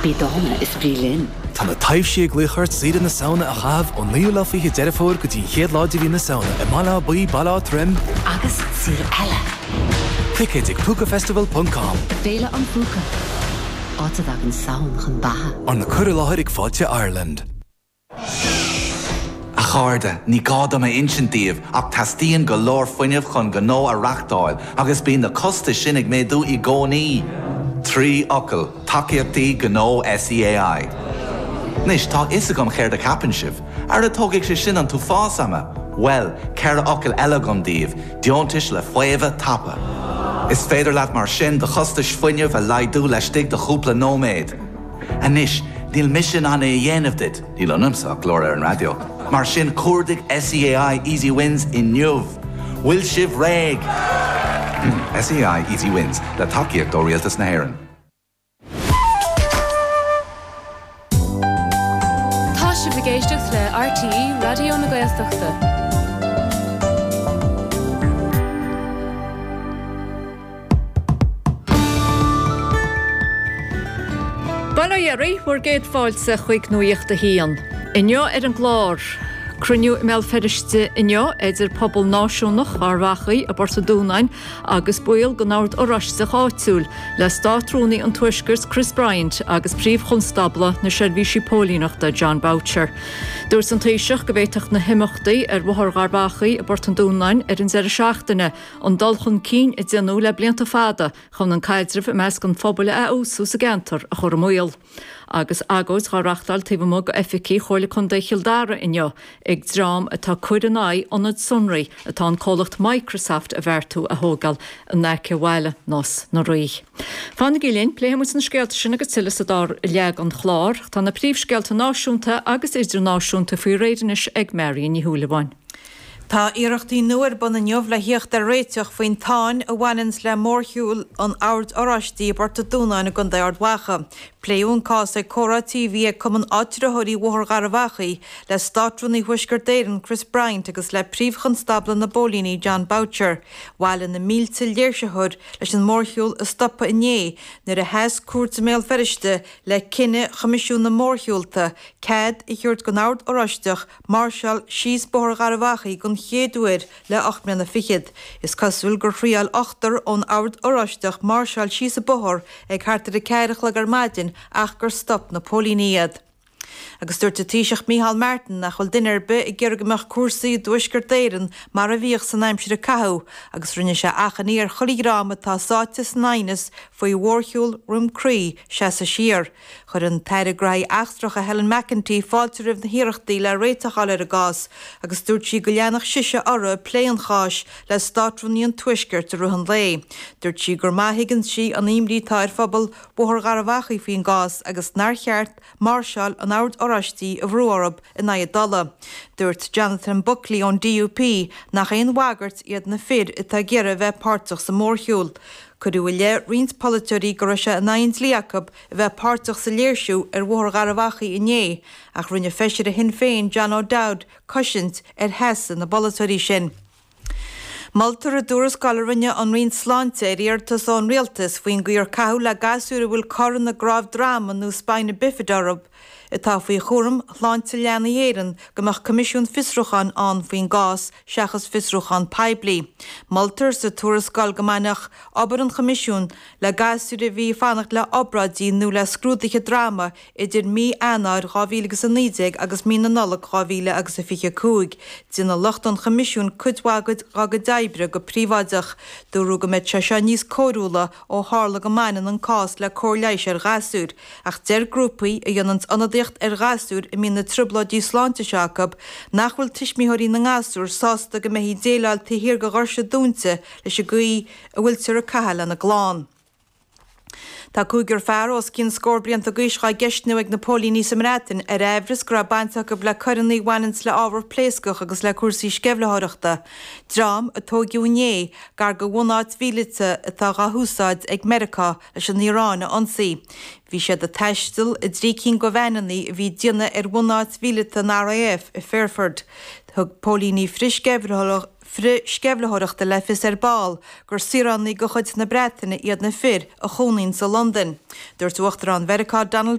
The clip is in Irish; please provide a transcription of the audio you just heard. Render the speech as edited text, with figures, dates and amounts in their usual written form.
Bí dána is bí linn. Tá na taibhsí ag glaoch ort saoire na Samhna a chaitheamh ón 29ú lá Deireadh Fómhair go dtí an chéad lá de mhí na Samhna i mBaile Átha Buí, Baile Átha Troim, Agus saoire eile. Ticéid ag púcafestival ponc com. Féile an Phúca, áit a dtagann Samhain chun beatha. Arna cur i láthair ag Fáilte Ireland. A chairde, ní gá dom a insint daoibh ach teastaíonn go leor fuinnimh chun gnó a reachtáil agus bíonn na costais sin ag méadú i gcónaí. 3 fhocal, tacaíochtaí gnó SEAI. Anois, tá a fhios agam céard a cheapann sibh. Ara tógfaidh sé sin an t-uafás ama! Bhuel, 4 fhocal eile agam daoibh, deontais le faomhadh tapa. Is féidir leat mar sin do chostais fuinnimh a laghdú laistigh de chúpla nóiméad. Anois, níl mise in ann é a dhéanamh duit, níl ionamsa ach glór ar an raidió, mar sin cuardaigh SEAI Easy Wins inniu! Bhfuil sibh réidh? SEAI Easy Wins, le tacaíocht ó Rialtas na hÉireann. Tá sibh ag éisteacht le RTÉ Raidió na Gaeltachta. Bail ó Dhia oraibh, bhur gcéad fáilte chuig Nuacht a hAon. Inniu ar an gclár, cruinniú i mBéal Feirste inniu idir pobal náisiúnach Gharbh Achaidh i bPort an Dúnáin agus baill den Ord Oráisteach áitiúil le Státrúnaí an Tuaiscirt Chris Bryant agus Príomh-Chonstábla na Seirbhísí Póilíneachta Jon Boutcher. Dúirt an Taoiseach go bhféadfadh na himeachtaí ar Bhóthar Gharbh Achaidh i bPort an Dúnáin ar an deireadh seachtaine an dul chun cinn a déanadh le blianta fada chun an caidreamh i measc an phobail a fheabhsú sa gceantar a chur i mbaol. Agus agóid dhá reachtáil taobh amuigh d'oifigí Chomhairle Contae Chill Dara inniu ag dream atá ag cur in aghaidh ionad sonraí atá an comhlacht Microsoft a bheartú a thógáil in aice bhaile Nás na Rí. Fanaigí linn, pléifidh muid na scéalta sin agus tuilleadh sa dara leath den chlár. Tá na príomhscéalta náisiúnta agus idirnáisiúnta faoi réir anois ag Marion Ní Shúilleabháin. Tá iarrachtaí nua ar bun inniu le thíocht ar réiteach faoin tsáinn a bhaineanns le mórshiúl an Oird Oráistigh i bPort an Dúnáin i gContae Ard Mhacha. Pléadh an cás ag comhrá tí a bhí ag Cumann Áitritheoirí Bhóthar Gharbh Achaidh le Státrúnaí Thuaisceart Éireann Chris Bryant agus le Príomh-Chonstábla na bPóilíní Jon Boutcher. Bhailigh na mílte léirsitheoir leis an mórshiúl a stopadh inné nuair a sheas cúirt i mBéal Feirste le cinneadh Choimisiún na Mórshiúlta cead a thabhairt don Ord Oráisteach máirseáil síos Bóthar Gharbh Achaidh den chéad uair le 8 mbliana fichead. Is cosúil gur thriáil ochtar ón Ord Oráisteach máirseáil síos an bóthar ag thart ar 4 a chlog ar maidin ach gur stop na póilíní iad. Agus dúirt an Taoiseach Micheál Martin nach bhfuil duine ar bith ag iarraidh go mbeadh cúrsaí i dTuaisceart Éireann mar a bhíodh san aimsir a caitheadh agus rinne sé achainí ar chuile dhream atá sáite san aighneas faoi mhórshiúl Dhroim Crí seasamh siar. Chuir an tAire Gnóthaí Eachtracha Helen McEntee fáilte roimh na hiarrachtaí le réiteach a fháil ar an gcás agus dúirt sí go leanfadh sise uirthi ag plé an cháis le Státrúnaí an Tuaiscirt i rith an lae. Dúirt sí gur maith a thuigeann sí an imní atá ar phobal Bhóthar Gharbh Achaidh faoin gcás agus nár cheart máirseáil an Oird Oráistigh a bhrú orthu in aghaidh a dtola. Dúirt Jonathan Buckley ón DUP nach aon bhagairt iad na fir atá ag iarraidh a bheith páirteach sa mhórshiúl. Cuireadh i leith roinnt polaiteoirí go raibh sé in aghaidh an dlí acu a bheith páirteach sa léirsiú ar Bhóthar Gharbh Achaidh inné, ach rinne feisire Shinn Féin John O'Dowd cosaint ar sheasamh na bpolaiteoirí sin. Moltar i dtuarascáil a rinne an Roinn Sláinte ar iarratas ón Rialtas faoin gcaoi ar caitheadh le gasúir a bhfuil cor ina gcnámh droma nó spina bifida orthu atá faoi chúram Shláinte Leanaí Éireann go mbeadh coimisiún fiosrúcháin ann faoin gcás seachas fiosrúchán poiblí. Moltar sa tuarascáil go mbainfeadh obair an choimisiúin le gasúir a bhí ag fanacht le obráidí nó le scrúduithe droma idir mí Eanáir 2019 agus mí na Nollag 2025. Déanfaidh lucht an Choimisiúin cuid mhaith dá gcuid oibre go príobháideach. Dúradh go mbeadh sé seo níos cóiriúla ó tharla go mbaineann an cás le cóir leighis ar ghasúir, ach deir grúpaí a dhéananns ionadaíocht ar ghasúir a mbíonn na trioblóidí sláinte seo acu nach bhfuil tuismitheoirí na ngasúr sásta go mbeifí ag déileáil taobh thiar de dhoirse dúinte leis an gcaoi a bhfuiltear ag caitheamh lena gclann. Tá cúigear fear os cionn scór blianta d'aois dhá gceistniú ag na póilíní sa mBreatain ar aimhreas go raibh baint acu le coireanna a bhaineanns le ábhar pléascach agus le cúrsaí sceimhlitheoireachta. Dream a tóigeadh inné gar do bhunáit mhíleata atá dhá húsáid ag Meiriceá leis an Iaráin a ionsaí. Bhí siad ag taisteal i dtrí cinn de veaineanna a bhí ag déanamh ar bhunáit mhíleata an RAF i Fairford. Thug póilíní frithsceimhlitheoireachta frithsceimhlitheoireachta le fios ar ball gur saoránaigh de chuid na Breataine iad na fir a chónaíonn sa Londain. Dúirt Uachtarán Mheiriceá Donald.